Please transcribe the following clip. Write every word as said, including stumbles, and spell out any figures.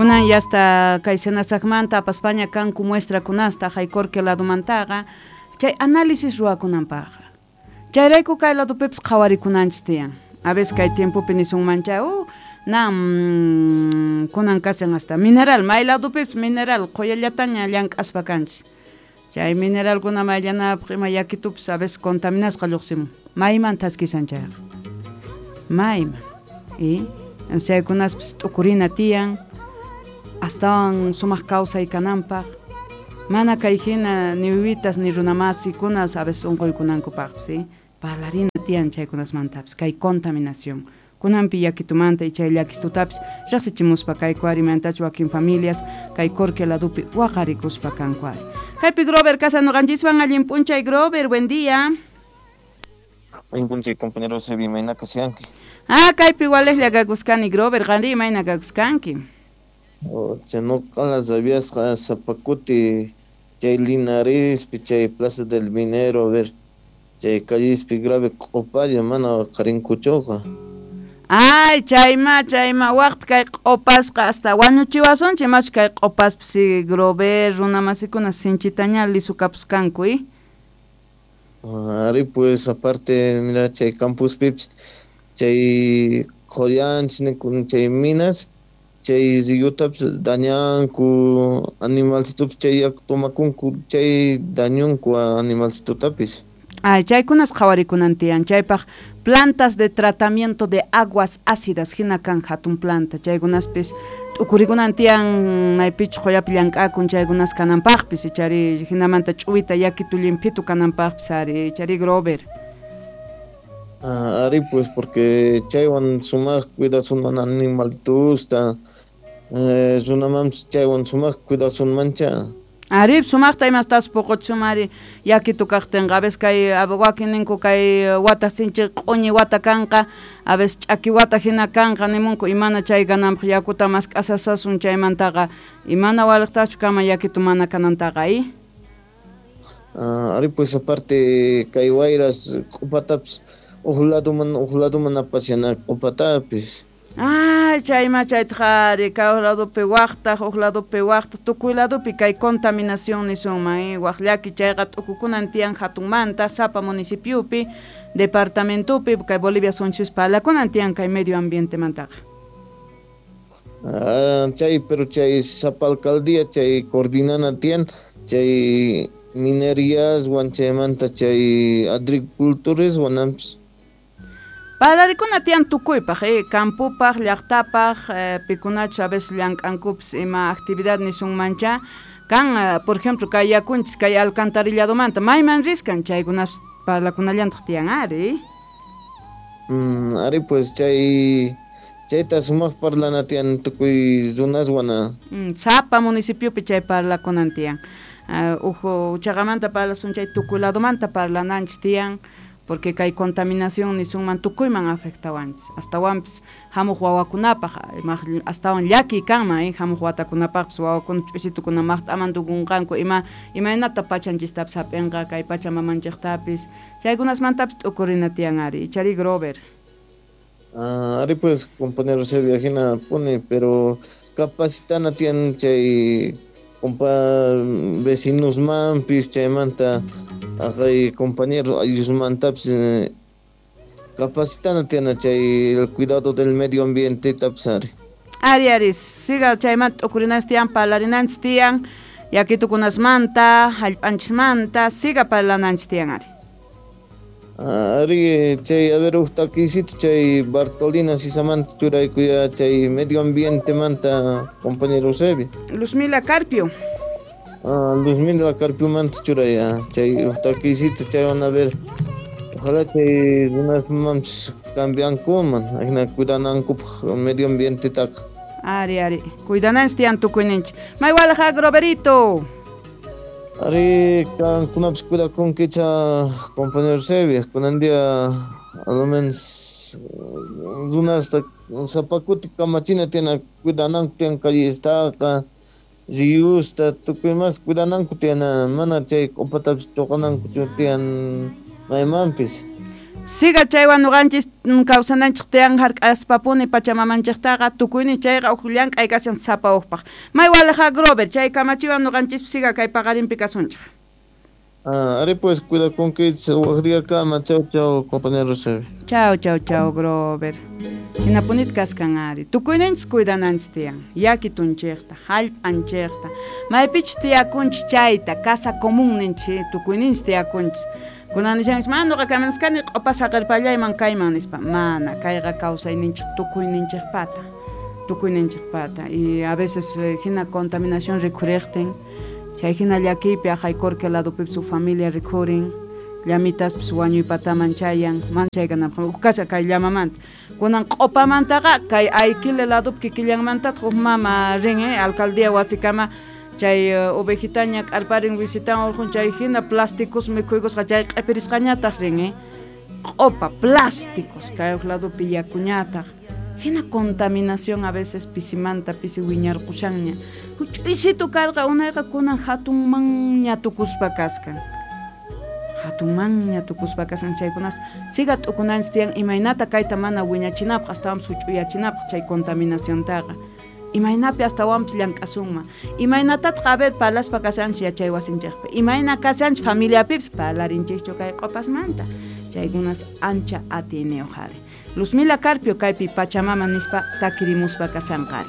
Kunan yasta kay Senasacmanta apaspaña kanku muestrakunasta Jaycorque ladomantaqa chay análisis ruwakunanpaqqa. Chayrayku kay ladopipis qhawarikunanchis tiyan. A veces kay tiempopi nisunmancha uh, na mm, kunan kashan hasta mineral may ladopipis mineral qhuyallataña llank'aspa kanchis. Chay mineralkuna mayllanapaq ima yakitupis a veces contaminasqa lluqsimun. Mayman thaskisan chayqa. Mayman. Y chaykunaspis t'ukurina tiyan astawan sumaq kawsay kananpaq. Mana kay hina ni wiwitas ni runamasikuna a veces unquykunankupaqpis, ¿sí? Parlarina tiyan chaykunasmantapis kay contaminación. Kunanpi yakitumanta y chay llakistutapis riqsichimuspa kay kuarimantachu wakin familias kay Corque ladupi waqarikuspa kanku ari. Kaypi Grover kasa nuqanchiswan allin p'unchay Grover, buen día. Allin p'unchay compañero Sebi, imayna kashanki? Ah, kaypi walejlla kakuskani Grover, qanri imayna kakuskanki? Oh, nuqa rabiasqa sapa kuti chay Linarespi chay Plaza del Minero a ver chay callespi grave q'upalla mana qarinkuchuqa. Ay, chayma, chayma, waqt kay q'upasqa hasta wañuchiwasunchik machu kay q'upaspis Grover runamasikuna sinchitaña lisukapuskanku, ¿eh? Ari pues aparte mira chay campuspipis chay qhullanchis chay minas chay riyutapis dañanku animalcitupis chay yaku tomakunku chay dañunku animalcitutapis. Ay, chaykunas qhawarikunan tiyan chaypaq plantas de tratamiento de aguas ácidas hina kan hatun planta chaykunaspis t'ukurikunan tiyan maypichu qullapi llank'akun chaykunas kananpaqpis ichari hinamanta ch'uwita yakitu llimphitu kananpaqpis ari ichari Grover. Ah, ari pues porque chaywan sumaq cuidasunman animalitusta eh, runamanpis chaywan sumaq cuidasunmancha. Ari sumaqta imastas puquchumari yakitu kaqtinqa a veces kay wakin ninku kay wata sinchi q'uñi wata kanqa a veces ch'aki wata hina kanqa nimunku imana chay kananpaq yakuta mask'asasasun chaymantaqa imana waliqtachu kama yakitu mana kanantaqa y Ah, ari pues aparte kay wayras q'upatapis uq laduman uq laduman apashana q'upatapis. Ay, chayma chaytaqa ari kay uq ladupi waqtaq uq ladupi waqtaq tukuy ladupi kay contaminación nisunman eh waq llaki chayqa t'ukukunan tiyan hatunmanta sapa municipiopi departamentopi kay Bolivia sunchis parlakunan tiyan kay medio ambientemantaqa. Ah, chay pero chay sapa alcaldía chay coordinana tiyan chay minerías wan chaymanta chay agricultores wanampis. Parlarikuna tiyan tukuypaq, eh, campupaq, llaqtapaq, eh, pikunachu a veces llank'ankupis ima actividad nisunmancha kan, eh, por ejemplo, kay yakunchis kay alcantarilladomanta mayman riskan chaykunas parlakunallantaq tiyan ari. Mm, ari pues chay chayta sumaq parlana tiyan tukuy runaswana. Mm, sapa municipiopi chay parlakunan tiyan. Uh, uhu chaqamanta parlasun chay tukuy ladomanta parlananchis tiyan. Porque kay contaminación nisunman tukuyman afectawanchis astawanpis hamuq wawakunapaq astawan llaki kanman eh hamuq watakunapaqpis wawakuna ch'usitukuna maqt'aman tukunqanku ima imaynata pachanchistapis hap'inqa kay pacha mamanchiqtapis chaykunasmantapis t'ukurina tiyan ari ichari Grover. Ah, ari pues compañero Sevilla hina puni pero capacitana tiyan chay compa vecinos mampis chaymanta ajay compañero ayllusmantapis eh, capacitana tiyan chay el cuidado del medio ambiente tapis ari. Ari ari siga chaymanta t'ukurinanchis tiyan parlarinanchis tiyan yakitukunasmanta hallp'anchismanta siga parlananchis tiyan ari. Ari chay a ver uq takisita chay Bartolina Sisamanta churaykuya chay medio ambiente manta compañero Sebi. Luzmila Carpio. Ah, Luzmila Carpio manta churaya chay uq takisita chaywan a ver ojalá chay runas mampis cambiankuman ajina cuidanankupaq medio ambiente taqa. Ari ari cuidananchis tiyan tukuyninchik. Maywalaja Groverito. Ari kankunapis cuidakunkicha compañero Sebi kunan día a lo menos runasta sapa kuti kamachina tiyan cuidananku tiyan callestaqa riyusta tukuy mas cuidananku tiyan mana chay q'upatapis chuqanankuchu tiyan maymanpis. Siga chaywan ñuqanchis kawsananchik tiyan hark'aspapuni pachamamanchiktaqa tukuynin chayqa uj llank'ay kashan sapa uqpaq. May waliqa Grover chay kamachiwan ñuqanchispi siga kay paqarinpi kasunchik. Ah, ari pues cuidakunkichis waq diyakama. Chau chau compañero Rosario. Chau chau chau Grover. Hinapunit kaskan ari. Tukuyninchis cuidananchis tiyan. Yakitunchikta, hallp'anchikta. Maypichus tiyakunchis chayta, casa común ninchik, tukuyninchis tiyakunchis. Kunan nishanchis, mana nuqa kaminaskani q'upa saqirpallayman kayman nispa. Mana, kayqa kawsayninchik tukuyninchikpata. Tukuyninchikpata. Y a veces hina contaminación rikhuriqtin, chay hina llakiypi aqaykurka ladupipis huk familia rikhurin, llamitaspis wañuypataman chayan, mana chaykanapaq huk kasha kay llamamanta. Kunan q'upamantaqa kay Aykile ladupi kikillanmantataq huk mama rin, eh, alcaldía wasikama chay ovejitaña k'arparin visitan urqun chay hina plásticos mikhuykusqa chay q'ipirisqañataq rin, eh. Q'upa, plásticos, kay huk ladupi yakuñataq. Hina contaminación a veces pisimanta pisi wiñarqushanña. Huch'uysitu karqa unayqa kunan hatunmanña tukuspa kaskan. Hatunmanña tukuspa kaskan chaykunas siga t'ukunanchis tiyan imaynata kayta mana wiñachinapaq astawanpis huch'uyachinapaq chay contaminaciontaqa. Imaynapi astawanpis llank'asunman. Imaynatataq a ver parlaspa kashanchis yachay wasinchikpi. Imayna kashanchis familiapipis parlarinchikchu kay q'upasmanta. Chaykunas ancha atiyniyuq ari. Luzmila Carpio kaypi Pachamama nispa takirimuspa kasanqari.